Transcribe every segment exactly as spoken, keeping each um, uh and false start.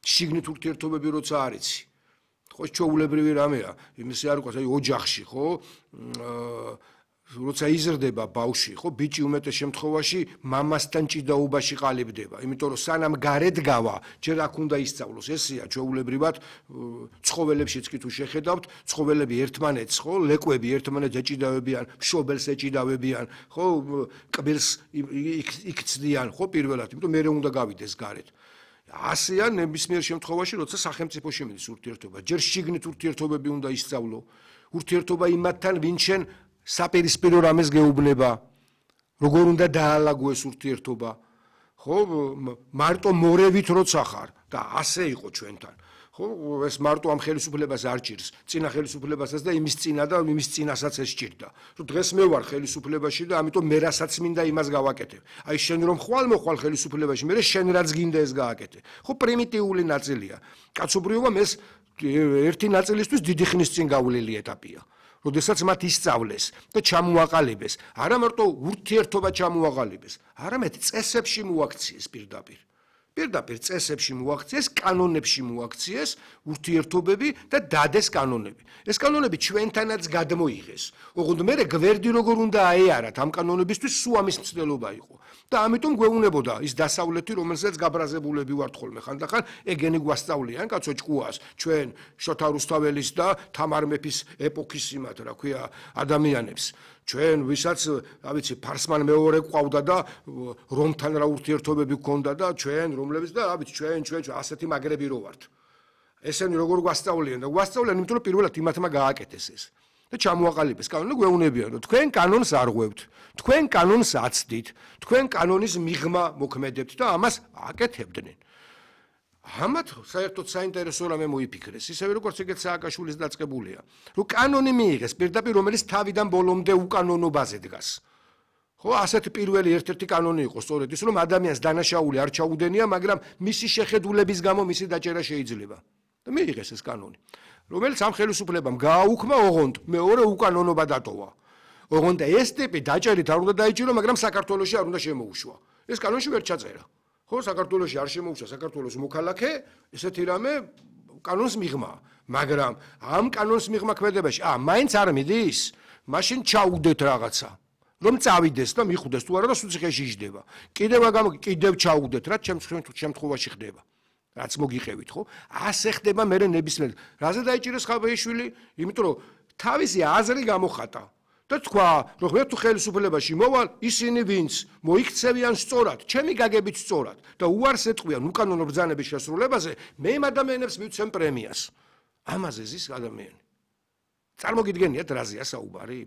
შიგნით ურთიერთობები როცა არიცი. ხო ჩვეულებრივი რამეა, იმისი არ ყავს, აი ოჯახში, ხო? როცა იზრდება ბავშვი, ხო, ბიჭი უმეტეს შემთხვევაში მამასთან ჭიდაობაში ყალიბდება, იმიტომ რომ სანამ გარეთ გავა, ჯერ აქ უნდა ისწავლოს. ესეა ჩვეულებრივად ცხოველებშიც კი თუ შეხედავთ, ცხოველები ერთმანეთს, ხო, ლეკვები ერთმანეთს ეჭიდავებიან, მშობელს ეჭიდავებიან, ხო, კბილს იქცდიან, ხო, პირველად, იმიტომ მე უნდა გავიდეს გარეთ. ასეა ნებისმიერ შემთხვევაში, როცა სახელმწიფოში მიდის ურთიერთობა, ჯერ შიგნით ურთიერთობები უნდა ისწავლო. ურთიერთობა იმათთან, ვინ შენ საპირისპირო რამეს გეუბნება, როგორ უნდა დაალაგო ეს ურთიერთობა, ხო, მარტო მორევით როცა ხარ და ასე იყო ჩვენთან. ხო, ეს მარტო ამ ხელისუფლებას არ ჭირს, წინა ხელისუფლებასაც და იმის წინა და იმის წინასაც ეს ჭირდა. რომ დღეს მე ვარ ხელისუფლებაში და ამიტომ მე რასაც მინდა იმას გავაკეთებ. აი შენ რომ ხვალ მოხვალ ხელისუფლებაში, მე შენ რაც გინდა ეს გააკეთე. ხო, პრიმიტიული ნაწილია. კაცობრიობამ ეს ერთი ნაწილისთვის დიდი ხნის წინ გავლილი ეტაპია. როდესაც მათ ისწავლეს და ჩამოაყალიბეს, არა მარტო ურთიერთობა ჩამოაყალიბეს, არამედ წესებში მოაქციეს პირდაპირ. პირდაპირ წესებში მოაქციეს, კანონებში მოაქციეს ურთიერთობები და დადეს კანონები. ეს კანონები ჩვენთანაც გადმოიღეს. ოღონდ მე გვერდი როგორ უნდა აეარათ ამ კანონებისთვის სულ ამის მცდელობა იყო. და ამიტომ გვეუბნებოდა ის დასავლეთი, რომელსაც გაბრაზებულები ვართ ხოლმე ხანდახან, ეგენი გვასწავლიან, კაცო ჭკუას, ჩვენ შოთა რუსთაველის და თამარ მეფის ეპოქის იმათ, რა ქვია, ადამიანებს. ჩვენ ვისაც, რა ვიცი, ფარსმან მეორე ყავდა და რომთან რა ურთიერთობები გქონდა და ჩვენ რომლებიც და რა ვიცი, ჩვენ ჩვენ ასეთი მაგრები რო ვართ. ესენი როგორ გვასწავლიან და გვასწავლიან, იმიტომ რომ პირველად იმათმა გააკეთეს ეს. და ჩამოაყალიბეს კანონი, გვეუბნებიან, რომ თქვენ კანონს არ ღვევთ, თქვენ კანონს აცდით, თქვენ კანონის მიღმა მოქმედებთ და ამას აკეთებდნენ. ამათ საერთოდ საინტერესო რამე მოიფიქრეს, ისევე როგორც ეგეც სააკაშვილის დაწყებულია, რომ კანონი მიიღეს პირდაპირ, რომელიც თავიდან ბოლომდე უკანონობაზე დგას. ხო, ასეთ პირველი ერთ-ერთი კანონი იყო სწორედ ის, რომ ადამიანს დანაშაული არ ჩაუდენია, მაგრამ მისი შეხედულების გამო მისი დაჭერა შეიძლება. და მიიღეს ეს კანონი. რომელიც ამ ხელისუფლებამ გააუქმა, ოღონდ მეორე უკანონობა დატოვა. ოღონდ ეს ტიპი დაჭერით არ უნდა დაიჭირო, მაგრამ საქართველოში არ უნდა შემოუშვა. ეს კანონში ვერ ჩაწერა. ხო, საქართველოში არ შემოუშვა საქართველოს მოქალაქე, ესეთი რამე კანონს მიღმა. მაგრამ ამ კანონს მიღმა ქმედებაში, ა, მაინც არ მიდის, მაშინ ჩაუდეთ რაღაცა. რომ წავიდეს და მიხვდეს თუ არა და სუციხეში იჯდება. კიდევ აგამ კიდევ ჩაუდეთ, რაც შემთხვევაში ხდება. რაც მოგიყევით, ხო? ასე ხდება მე ნებისმიერ. რაზე დაიჭირეს ხაბეიშვილი? იმიტომ რომ თავისი აზრი გამოხატა და თქვა, რომ მე თუ ხელისუფლებაში მოვალ, ისინი ვინც მოიქცევიან სწორად, ჩემი გაგებით სწორად და უარს ეტყვიან უკანონო ბრძანების შესრულებაზე, მე იმ ადამიანებს მივცემ პრემიას. ამაზე ზის ადამიანი. წარმოგიდგენიათ რაზეა საუბარი?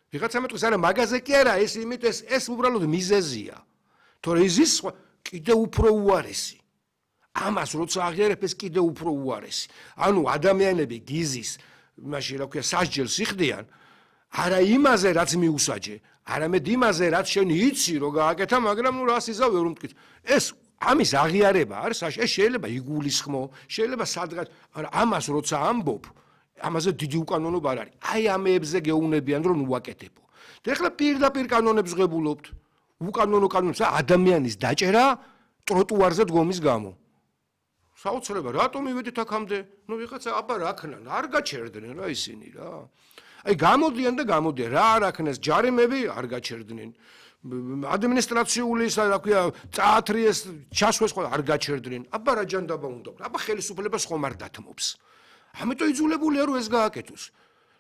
ვიღაცა მეტყვის, არა, მაგაზე კი არა, ეს იმით ეს ეს უბრალოდ მიზეზია. თორე ის კიდევ უფრო უარესი. ამას როცა აღიარებ ეს კიდევ უფრო უარესი. ანუ ადამიანები გიზის, მაშინ რა ქვია, სასჯელს იხდიან, არა იმაზე, რაც მიუსაჯე, არამედ იმაზე, რაც შენ იცი, რომ გააკეთა, მაგრამ ნუ რას იზავ ვერ უმტკით. ეს ამის აღიარება არის, ეს შეიძლება იგულისხმო, შეიძლება სადღაც, არა, ამას როცა ამბობ, ამაზე დიდი უკანონობა არ არის. აი ამებზე გეუბნებიან, რომ უაკეთებო. და ეხლა პირდაპირ კანონებს ღებულობთ. უკანონო კანონებს ადამიანის დაჭერა ტროტუარზე დგომის გამო. საოცრება, რატომ მივედით აქამდე? ნუ ვიღაცა აბა რა ქნან, არ გაჩერდნენ რა ისინი რა. აი გამოდიან და გამოდიან, რა არ აქნეს, ჯარიმები არ გაჩერდნენ. ადმინისტრაციული ისა რა ქვია, წაათრიეს, ჩასვეს ხო არ გაჩერდნენ. აბა რა ჯანდაბა უნდა. აბა ხელისუფლებას ხომ არ დათმობს. ამიტომ იძულებულია რომ ეს გააკეთოს.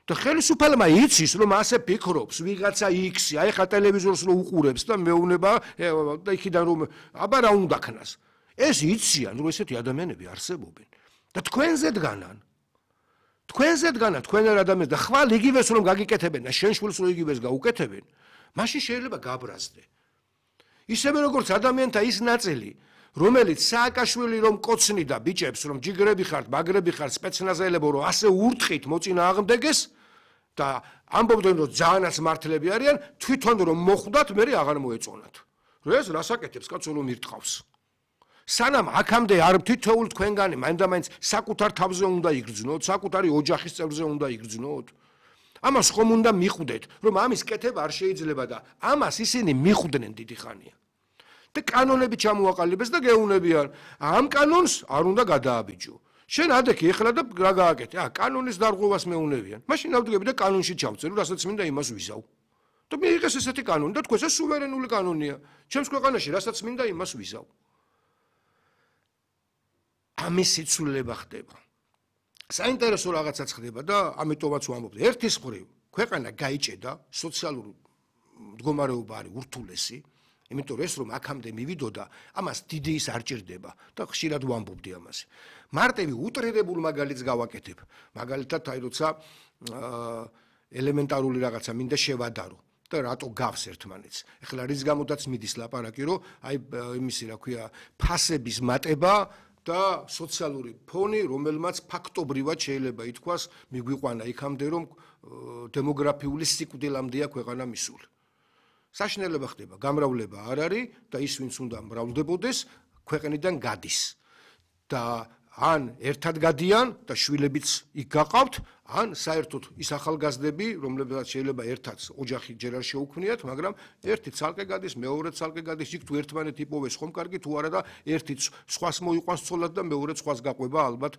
და ხელისუფალმა იცის რომ ასე ფიქრობს ვიღაცა იქსი, აი ხა ტელევიზორს რო უყურებს და მეუბნება და იქიდან რომ აბა რა უნდა ქნას. ეს იციან რომ ესეთი ადამიანები არსებობენ და თქვენზე დგანან. თქვენზე დგანან თქვენ არ ადამიანს და ხვალ იგივეს რომ გაგიკეთებენ და შენ შვილს რო იგივეს გაუკეთებენ, მაშინ შეიძლება გაბრაზდე. ისევე როგორც ადამიანთა ის ნაწილი, რომელიც სააკაშვილი რომ კოცნიდა ბიჭებს რომ ჯიგრები ხართ, მაგრები ხართ, სპეცნაზელებო რომ ასე ურტყით მოწინააღმდეგეს და ამბობდნენ რომ ძალიანაც მართლები არიან, თვითონ რომ მოხვდათ, მე აღარ მოეწონათ. რომ ეს რას აკეთებს კაცო რომ ირტყავს. სანამ აქამდე არ თითოეულ თქვენგანი მაინდა-მაინც საკუთარ თავზე უნდა იგრძნოთ, საკუთარი ოჯახის წევრზე უნდა იგრძნოთ. ამას ხომ უნდა მიხვდეთ, რომ ამის კეთება არ შეიძლება და ამას ისინი მიხვდნენ დიდი ხანია. და კანონები ჩამოაყალიბეს და გეუნებიან. ამ კანონს არ უნდა გადააბიჯო. შენ ადექი ეხლა და რა გააკეთე? ა კანონის დარღვევას მეუნებიან. მაშინ ავდგები და კანონში ჩავწერო, რასაც მინდა იმას ვიზავ. და მიიღეს ესეთი კანონი და თქვენ ეს სუვერენული კანონია. ჩემს ქვეყანაში რასაც მინდა იმას ვიზავ. ამის სიცვლილება ხდება. საინტერესო რაღაცაც ხდება და ამიტომაც ვამბობ. ერთის მხრივ ქვეყანა გაიჭედა, სოციალური მდგომარეობა არის ურთულესი, იმიტომ რომ ეს რომ აქამდე მივიდოდა, ამას დიდი ის არ ჭირდება და ხშირად ვამბობდი ამაზე. მარტივი უტრირებულ მაგალითს გავაკეთებ. მაგალითად, აი როცა ელემენტარული რაღაცა მინდა შევადარო და რატო გავს ერთმანეთს. ეხლა რის გამოდაც მიდის ლაპარაკი, რომ აი იმისი რა ქვია, ფასების მატება და სოციალური ფონი, რომელმაც ფაქტობრივად შეიძლება ითქვას, მიგვიყვანა იქამდე, რომ დემოგრაფიული სიკვდილამდეა ქვეყანა მისული. საშინელება ხდება, გამრავლება არ არის და ის ვინც უნდა მრავლდებოდეს, ქვეყნიდან გადის. და ან ერთად გადიან და შვილებიც იქ გაყავთ, ან საერთოდ ის ახალგაზრდები, რომლებსაც შეიძლება ერთად ოჯახი ჯერ არ შეუქმნიათ, მაგრამ ერთი ცალკე გადის, მეორე ცალკე გადის, იქ თუ ერთმანეთი იპოვეს ხომ კარგი, თუ არა და ერთი სხვას მოიყვანს ცოლად და მეორე სხვას გაყვება, ალბათ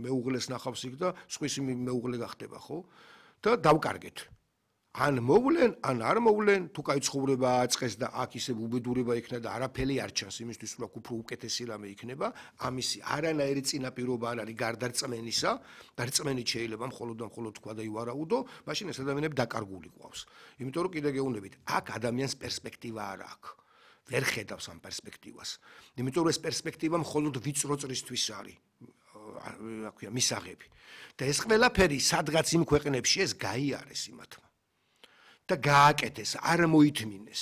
მეუღლეს ნახავს იქ და სხვისი მეუღლე გახდება, ხო? და დავკარგეთ. ან მოვლენ, ან არ მოვლენ, თუ კაი ცხოვრება აწყეს და აქ ისე უბედურება იქნება და არაფერი არ ჩანს იმისთვის, რომ უფრო უკეთესი რამე იქნება, ამისი არანაირი წინაპირობა არ არის გარდა რწმენისა, და რწმენით შეიძლება მხოლოდ და მხოლოდ თქვა და ივარაუდო, მაშინ ეს ადამიანები დაკარგული ყავს. იმიტომ რომ კიდე გეუბნებით, აქ ადამიანს პერსპექტივა არ აქვს. ვერ ხედავს ამ პერსპექტივას. იმიტომ რომ ეს პერსპექტივა მხოლოდ ვიწრო წრისთვის არის. რა ქვია, მისაღები. და ეს ყველაფერი სადღაც იმ ქვეყნებში ეს გაიარეს იმათმა. და გააკეთეს, არ მოითმინეს.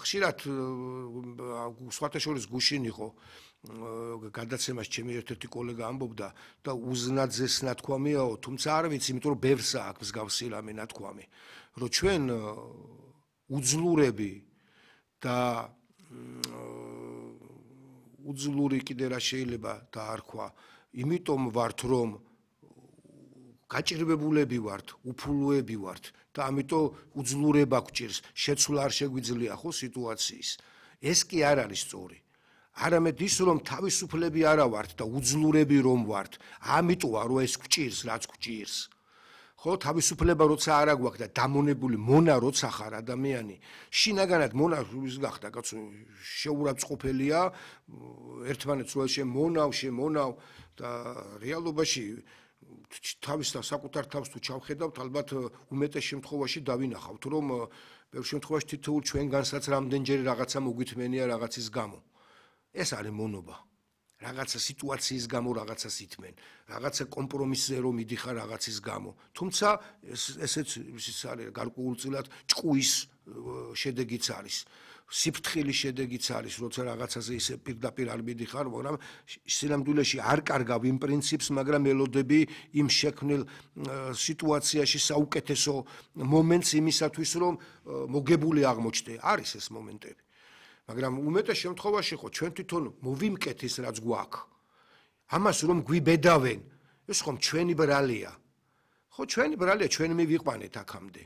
ხშირად სხვათა შორის გუშინ იყო გადაცემაში ჩემი ერთ-ერთი კოლეგა ამბობდა და უზნაძეს ნათქვამიაო, თუმცა არ ვიცი, იმიტომ რომ ბევრსა აქვს მსგავსი რამე ნათქვამი, რომ ჩვენ უძლურები და უძლური კიდე რა შეიძლება დაარქვა, იმიტომ ვართ, რომ გაჭირვებულები ვართ, უფულოები ვართ და ამიტომ უძლურება გვჭირს, შეცვლა არ შეგვიძლია ხო სიტუაციის. ეს კი არ არის სწორი. არამედ ის რომ თავისუფლები არა ვართ და უძლურები რომ ვართ, ამიტომ რომ ეს გვჭირს, რაც გვჭირს. ხო, თავისუფლება როცა არა გვაქვს და დამონებული მონა როცა ხარ ადამიანი, შინაგანად მონა ის გახდა, კაცო, შეურაცხყოფელია, ერთმანეთს რო შემონავ, შემონავ და რეალობაში თავის და საკუთარ თავს თუ ჩავხედავთ, ალბათ უმეტეს შემთხვევაში დავინახავთ, რომ ბევრ შემთხვევაში თითოეულ ჩვენგანსაც რამდენჯერ რაღაცა მოგვითმენია რაღაცის გამო. ეს არის მონობა. რაღაცა სიტუაციის გამო რაღაცას ითმენ, რაღაცა კომპრომისზე რომ მიდიხარ რაღაცის გამო. თუმცა ესეც ის არის გარკვეულწილად ჭკუის შედეგიც არის. სიფრთხილის შედეგიც არის, როცა რაღაცაზე ისე პირდაპირ არ მიდიხარ, მაგრამ სინამდვილეში არ კარგავ იმ პრინციპს, მაგრამ ელოდები იმ შექმნილ სიტუაციაში საუკეთესო მომენტს იმისათვის, რომ მოგებული აღმოჩნდე. არის ეს მომენტები. მაგრამ უმეტეს შემთხვევაში ხო ჩვენ თვითონ მოვიმკეთ ის რაც გვაქვს. ამას რომ გვიბედავენ, ეს ხომ ჩვენი ბრალია. ხო ჩვენი ბრალია, ჩვენ მივიყვანეთ აქამდე.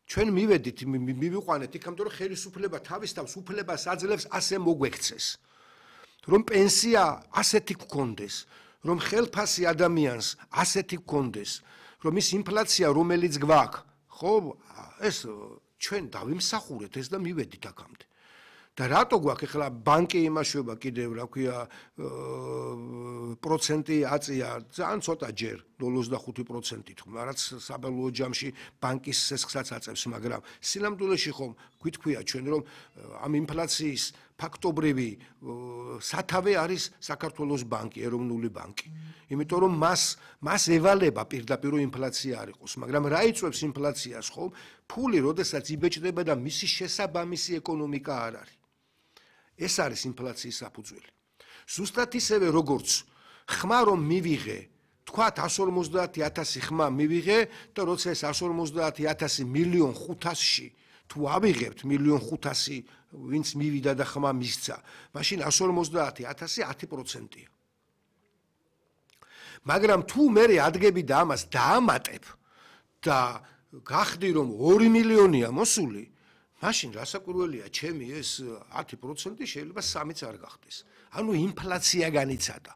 ჩვენ მივედით, მივიყვანეთ იქამდე რომ ხელისუფლება თავის თავს უფლებას აძლევს ასე მოგვექცეს. რომ პენსია ასეთი გქონდეს, რომ ხელფასი ადამიანს ასეთი გქონდეს, რომ ის ინფლაცია რომელიც გვაქვს, ხო ეს ჩვენ დავიმსახურეთ ეს და მივედით აქამდე. და რატო გვაქვს ახლა ბანკი იმაშვება კიდევ რა ქვია პროცენტი აწია ძალიან ცოტა ჯერ ნულ ოცდახუთი პროცენტით რაც საბოლოო ჯამში ბანკის სესხსაც აწევს მაგრამ სინამდვილეში ხომ გვითქვია ჩვენ რომ ამ ინფლაციის ფაქტობრივი სათავე არის საქართველოს ბანკი ეროვნული ბანკი იმიტომ რომ მას მას ევალება პირდაპირ ინფლაცია არ იყოს მაგრამ რა იწვევს ინფლაციას ხომ ფული როდესაც იბეჭდება და მისი შესაბამისი ეკონომიკა არ არის ეს არის ინფლაციის საფუძველი. ზუსტად ისევე როგორც ხმა რომ მივიღე, თქვათ εκατს ორმოცდაათი ათასი ხმა მივიღე და როცა ეს εκατს ორმოცდაათი ათასი მილიონ ხუთასში თუ ავიღებთ მილიონ ხუთასი ვინც მივიდა და ხმა მისცა, მაშინ εκατს ორმოცდაათი ათასი ათი პროცენტია. მაგრამ თუ მე ადგები და ამას დაამატებ და გახდი რომ ორი მილიონია მოსული მაშინ რასაკვირველია, ჩემი ეს ათი პროცენტი შეიძლება სამიც არ გახდეს. ანუ ინფლაცია განიცადა.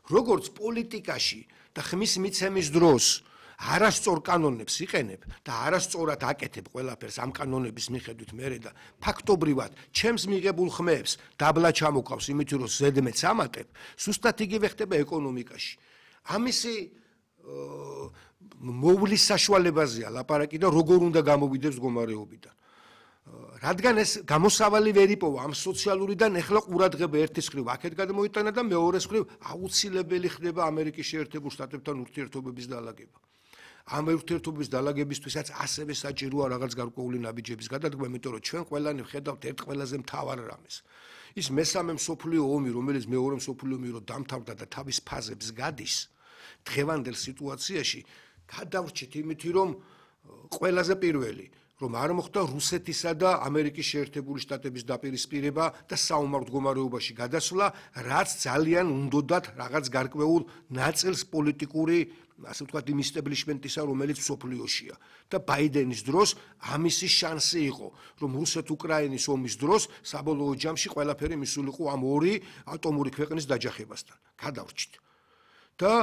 როგორც პოლიტიკაში და ხმის მიცემის დროს არასწორ კანონებს იყენებ და არასწორად აკეთებ ყველაფერს ამ კანონების მიხედვით მერე და ფაქტობრივად ჩემს მიღებულ ხმებს დაბლა ჩამოყავს იმით რომ ზედმეტს ამატებ, სუსტად იგივე ხდება ეკონომიკაში. ამისი მოვლის საშუალებაზეა ლაპარაკი და როგორ უნდა გამოვიდებს მდგომარეობიდან. რადგან ეს გამოსავალი ვერ იპოვა ამ სოციალურიდან, ეხლა ყურადღება ერთის მხრივ აქეთ გადმოიტანა და მეორეს მხრივ აუცილებელი ხდება ამერიკის შეერთებულ შტატებთან ურთიერთობების დალაგება. ამ ურთიერთობების დალაგებისთვისაც ასევე საჭიროა რაღაც გარკვეული ნაბიჯების გადადგმა, იმიტომ რომ ჩვენ ყველანი ვხედავთ ერთ ყველაზე მთავარ რამეს. ის მესამე მსოფლიო ომი, რომელიც მეორე მსოფლიო ომი რო დამთავრდა და თავის ფაზებს გადის, დღევანდელ სიტუაციაში გადავრჩით იმითი, რომ ყველაზე პირველი რომ არ მოხდა რუსეთისა და ამერიკის შეერთებული შტატების დაპირისპირება და საომარ მდგომარეობაში გადასვლა, რაც ძალიან უნდოდათ რაღაც გარკვეულ ნაწილს პოლიტიკური, ასე ვთქვათ, იმ ისტებლიშმენტისა, რომელიც მსოფლიოშია. და ბაიდენის დროს ამისი შანსი იყო, რომ რუსეთ-უკრაინის ომის დროს საბოლოო ჯამში ყველაფერი მისულიყო ამ ორი ატომური ქვეყნის დაჯახებასთან. გადავრჩით. და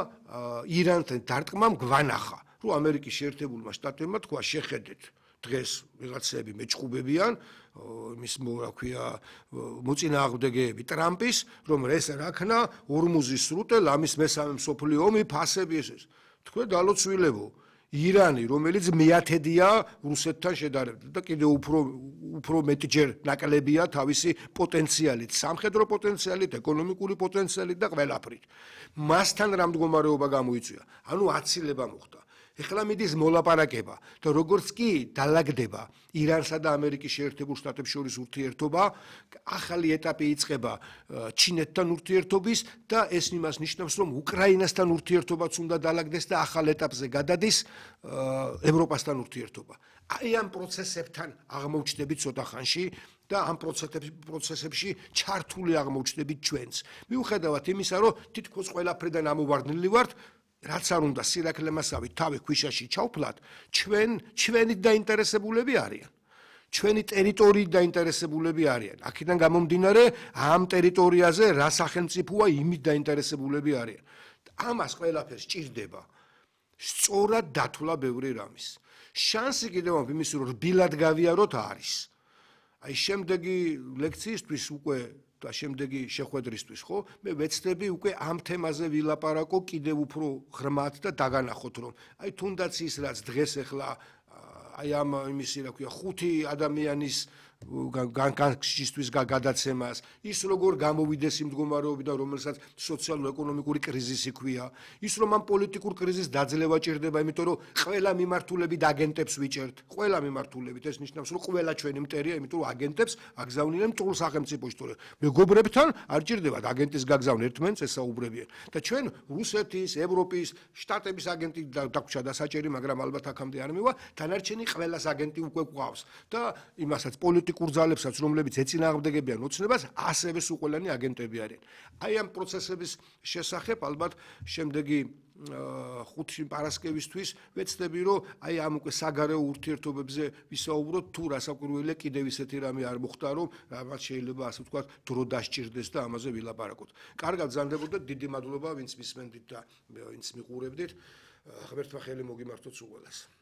ირანთან დარტყმამ გვანახა, რომ ამერიკის შეერთებულმა შტატებმა თქვა შეხედეთ დღეს ვიღაცები მეჭყუბებიან მის რა ქვია მოწინააღმდეგეები ტრამპის, რომ ეს რაქნა ორმუზის სრუტე ლამის მესამე მსოფლიო ომი ფასები ეს. თქვენ დალოცვილებო, ირანი, რომელიც მეათედია რუსეთთან შედარებით და კიდევ უფრო უფრო მეტჯერ ნაკლებია თავისი პოტენციალით, სამხედრო პოტენციალით, ეკონომიკური პოტენციალით და ყველაფრით. მასთან რა მდგომარეობა გამოიწვია? ანუ აცილება მოხდა. ეხლა მიდის მოლაპარაკება და როგორც კი დალაგდება ირანსა და ამერიკის შეერთებულ შტატებს შორის ურთიერთობა, ახალი ეტაპი იწყება ჩინეთთან ურთიერთობის და ეს იმას ნიშნავს, რომ უკრაინასთან ურთიერთობაც უნდა დალაგდეს და ახალ ეტაპზე გადადის ევროპასთან ურთიერთობა. აი ამ პროცესებთან აღმოჩნდებით ცოტა ხანში და ამ პროცესებში ჩართული აღმოჩნდებით ჩვენც. მიუხედავად იმისა, რომ თითქოს ყველაფრიდან ამოვარდნილი ვართ, რაც არ უნდა სირაქლემასავით თავი ქვიშაში ჩავფლათ, ჩვენ ჩვენი დაინტერესებულები არიან. ჩვენი ტერიტორიით დაინტერესებულები არიან. აქედან გამომდინარე, ამ ტერიტორიაზე რა სახელმწიფოა იმით დაინტერესებულები არიან. ამას ყველაფერს ჭირდება სწორად დათვლა ბევრი რამის. შანსი კიდევ ამ იმის რომ რბილად გავიაროთ არის. აი შემდეგი ლექციისთვის უკვე და შემდეგი შეხვედრისთვის ხო მე ვეცდები უკვე ამ თემაზე ვილაპარაკო კიდევ უფრო ღრმად და დაგანახოთ რომ აი თუნდაც ის რაც დღეს ახლა აი ამ იმისი რა ქვია ხუთი ადამიანის განკარგისთვის გადაცემას ის როგორ გამოვიდეს იმ მდგომარეობიდან რომელსაც სოციალურ-ეკონომიკური კრიზისი ქვია ის რომ ამ პოლიტიკურ კრიზისს დაძლევა ჭირდება იმიტომ რომ ყველა მიმართულებით აგენტებს ვიჭერთ ყველა მიმართულებით ეს ნიშნავს რომ ყველა ჩვენი მტერია იმიტომ რომ აგენტებს აგზავნიან მტყუր სახელმწიფოში თორე მეგობრებთან არ ჭირდებათ აგენტის გაგზავნა ერთმანეთს ესაუბრებიან და ჩვენ რუსეთის ევროპის შტატების აგენტი დაგვრჩა და საჭირი მაგრამ ალბათ აქამდე არ მივა დანარჩენი ყველას აგენტი უკვე გვყავს და იმასაც პოლიტიკურ კურძალებსაც რომლებიც ეწინააღმდეგებიან ოცნებას ასევე სულ ყველანი აგენტები არიან აი ამ პროცესების შესახებ ალბათ შემდეგი ხუთი პარასკევისთვის ვეცდები რომ აი ამ უკვე საგარეო ურთიერთობებზე ვისაუბროთ თუ რასაკვირველია კიდევ ისეთი რამე არ მოხდა რომ რაღაც შეიძლება ასე ვთქვათ დრო დასჭირდეს და ამაზე ვილაპარაკოთ კარგად გზანდებოდეთ დიდი მადლობა ვინც მისმენდით და ვინც მიყურებდით ღმერთმა ხელი მოგიმართოთ სულ ყველას